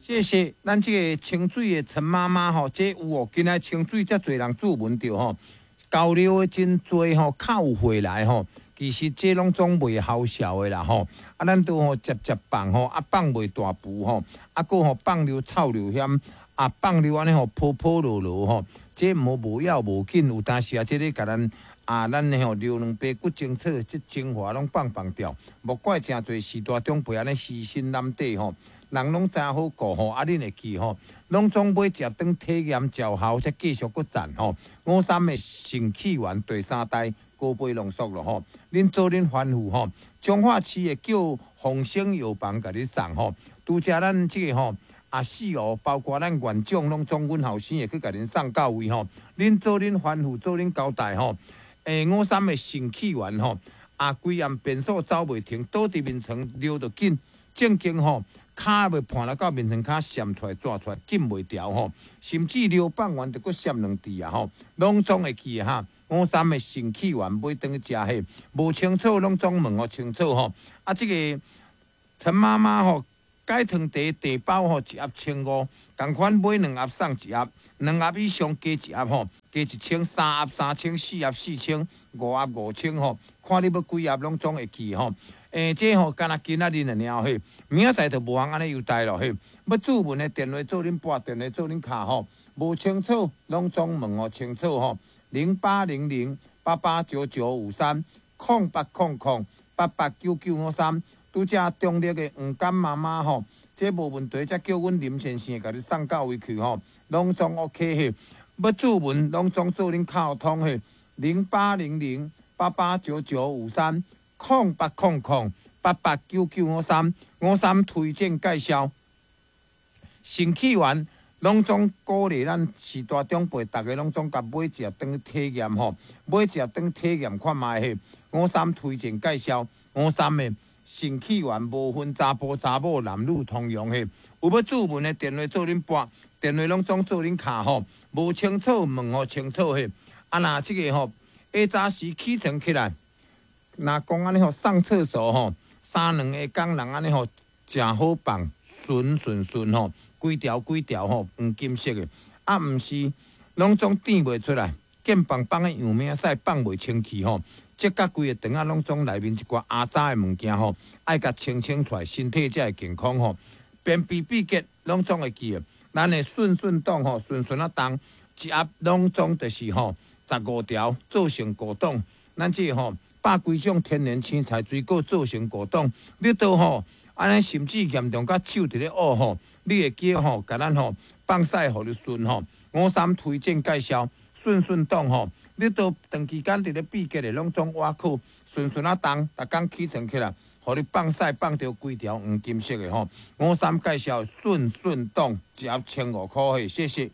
謝謝咱這个清水的陳媽媽吼，這有哦，今仔清水遮濟人注文著吼，交流的真濟吼，較有回來吼。其實這攏總袂好笑的啦吼，啊，咱都吼接接放吼，啊放袂大步吼，啊閣吼放尿臭尿險，啊放尿按呢吼泡泡落落吼，這毋好無要無緊，有當時啊，這个共咱啊，咱的吼尿兩白骨精草，這精華攏放放掉，莫怪誠濟序大長輩按呢虛心攬底吼。人攏知影好顧吼，啊，恁會記吼，攏總買食當體驗療效，才繼續閣讚吼。五三的腎氣丸第三代高倍濃縮咯吼，恁做恁吩咐吼，彰化市的叫鴻生藥房共你送吼，拄才咱這个吼啊四號，包括咱縣長攏總阮後生會去共恁送到位吼。恁做恁吩咐，做恁交代吼。五三的腎氣丸吼，啊，規暗便所走袂停，倒佇眠床尿著緊，正經吼。跤欲盤來到眠床跤閃出來、抓出來，緊袂牢吼，甚至尿放完就閣閃兩滴啊吼，攏總會記得哈。五三的腎氣丸買轉去食彼，無清楚攏總問予清楚吼。啊，這個陳媽媽吼，解糖茶茶包吼一盒千五，仝款買兩盒送一盒，兩盒以上加一盒吼，加一千，三盒三千，四盒四千，五盒五千吼，看你欲幾盒攏總會記吼。這吼敢若今仔日爾嘿，明仔載就無通按呢優待咯嘿。欲注文的電話做恁撥，電話做恁敲吼，無清楚攏總問予清楚吼。0800889953，0800889953。拄才中壢的黃甘媽媽吼，這無問題，才叫阮林先生共你送到位去吼，攏總 OK 嘿。欲注文攏總做恁敲通嘿，0800889953。0800889953，五三推薦介紹，腎氣丸攏總鼓勵咱序大長輩，逐家攏總共買食當體驗吼，買食當體驗看覓嘿。五三推薦介紹，五三的腎氣丸無分查埔查某男女通用嘿。有欲注文的電話做恁撥，電話攏總做恁敲吼，無清楚問予清楚嘿。啊，若這个吼，下早時起床起來。若講按呢吼，上廁所吼，三兩下工人按呢吼，誠好放，順順順吼，規條規條吼，黃金色的，啊，毋是，攏總甜袂出來，見放放的樣命屎放袂清氣吼，這甲規个腸仔攏總內面一寡阿雜的物件吼，愛共清清出來，身體才會健康吼。便秘秘結攏總會記得，咱的順順檔吼，順順仔重，一盒攏總就是吼十五條做成果凍，咱這個吼。百幾種天然青菜水果做成果凍，你都吼按呢，甚至嚴重甲手佇咧挖吼，你會記吼，共咱吼放屎予你順吼。五三推薦介紹順順檔吼，你都長期間佇咧秘結的攏總挖苦順順仔重，逐工起床起來，予你放屎放著規條黃金色的吼。五三介紹順順檔一盒千五箍嘿，謝謝。